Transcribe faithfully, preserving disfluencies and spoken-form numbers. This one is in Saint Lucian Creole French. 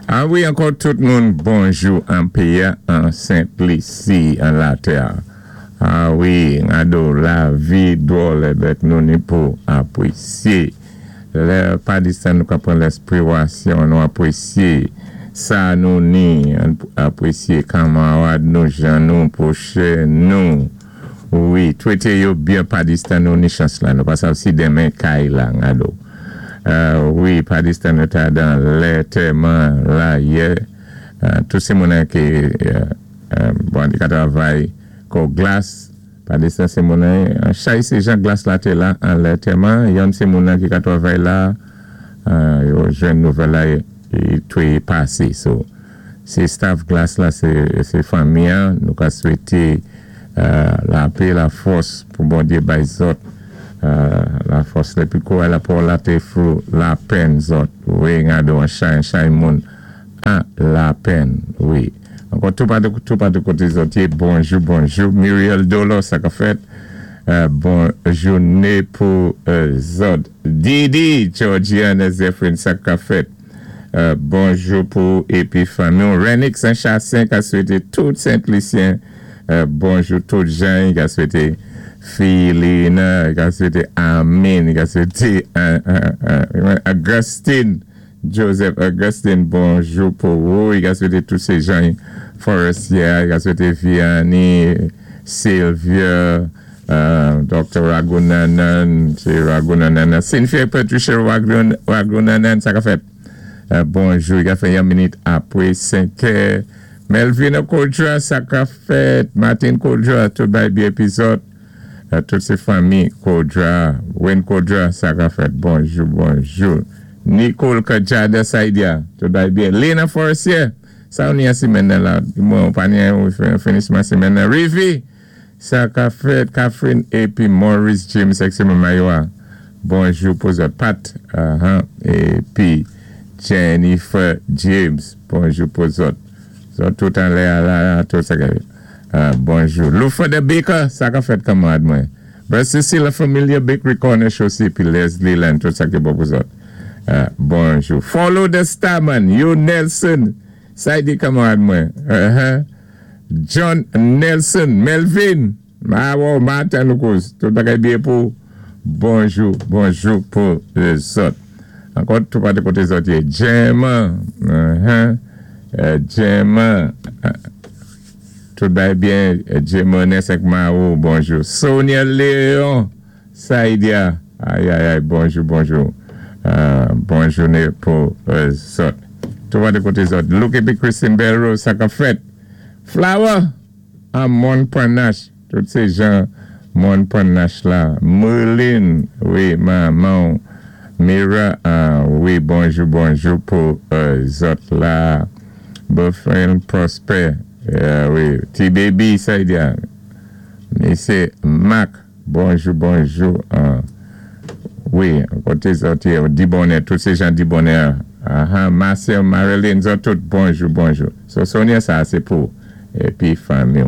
A wi, ankò tout moun, bonjou an péyi an Sent Lisi, an latè. A wi, ado lavi dwòl bét nou ni pou apwésyé. Lè pa distan nou ka pran lèspirasyon, nou apwésyé sa nou ni, apwésyé kanmarad nou, jan nou, pwochen nou. Wi, twété yo byen pa distan nou ni chans la, nou pa sav si denmen kay la, ado. Euh, wi, pa distan nou ta dan lantèman la yè, euh, tout sé moun ki euh, bon, di ka travay kò Glas, pa distan sé moun chay sé jan Glas la té la an lantèman, yon sé moun ki ka travay la, yo jwenn nouvèl la e toué pasé. So, sé staff Glas la, sé fanmi, nou ka swété lapè, lafòs pou Bondyé bay zòt lafòs lépi kou la pou la té fou lapenn zòt. Wi, gado an chay, chay moun an lapenn, wi. Ankò tout patou, tout patou koté zòt yé, bonjou, bonjou. Muriel Dolo, sa ka fèt. Bon jouné pou zòt. Didi, Georgiana Zephyrin, sa ka fèt. Bonjou pou épi fanmi. Renix Saint-Chassin, ka swété tout Sent-Lisyen. Bonjou tout jan, ka swété Philina, ka swété Amin, ka swété Augustine, Joseph Augustine, bonjou pou ou, ka swété tout sé jan Forestier, ka swété Vianney, Sylvia, Doctor Ragunanan, sé Ragunanan, Cynthia Patricia Ragunanan, sa ka fèt. Bonjou, ka fè yon minit apwé senk è. Melvin Kodra, sa ka fèt. Martin Kodra, tout bay byen épi zòt. Tout sé fanmi Kodra, Wayne Kodra, sa ka fèt. Bonjou, bonjou. Nicole Kajada Saidia, tout bay byen. Lena Forestier, sa ou ni an simenn nan la. Mwen, pa ni an finisman simenn nan. Rivi, sa ka fèt. Catherine épi Maurice James, ek Mayowa. Bonjou pou zòt. Pat, épi Jennifer James, bonjou pou zòt. Zòt tout an lè la, tout sa ka fèt. Bonjou. Lufa de Baker, sa ka fèt kanmarad mwen. Brother Cecile, la Familia Bakery Corner Chaussée, pi Leslie Land, tout sa ki bon pou zòt. Bonjou. Follow the Starman, you Nelson, sa di kanmarad mwen. John Nelson, Melvin, ma wò, Martin Lucas, tout bagay byen pou. Bonjou, bonjou pou zòt. Ankò tout pa de koté zòt yé. Gemma, Gemma, tout bay byen, Gemma Nesek Marou, bonjou. Sonia Léon, Saidia, ay ay ay, bonjou, bonjou. Bonjou pou zòt. Tout pa de koté zòt. Luke épi Christine Belrose, sa ka fèt. Flower, an Montparnasse, tout sé jan Montparnasse la. Merlin, wi, manman, Mira, wi, bonjou, bonjou pou zòt la. Buffin Prosper, wi, T-Baby, Saidia. Misye Mac, bonjou, bonjou. Wi, koté zòt, Dibonè, tout sé jan Dibonè. Marcel, Marilyn, zòt tout, bonjou, bonjou. So, Sonia, sa, sé pou, épi fanmi.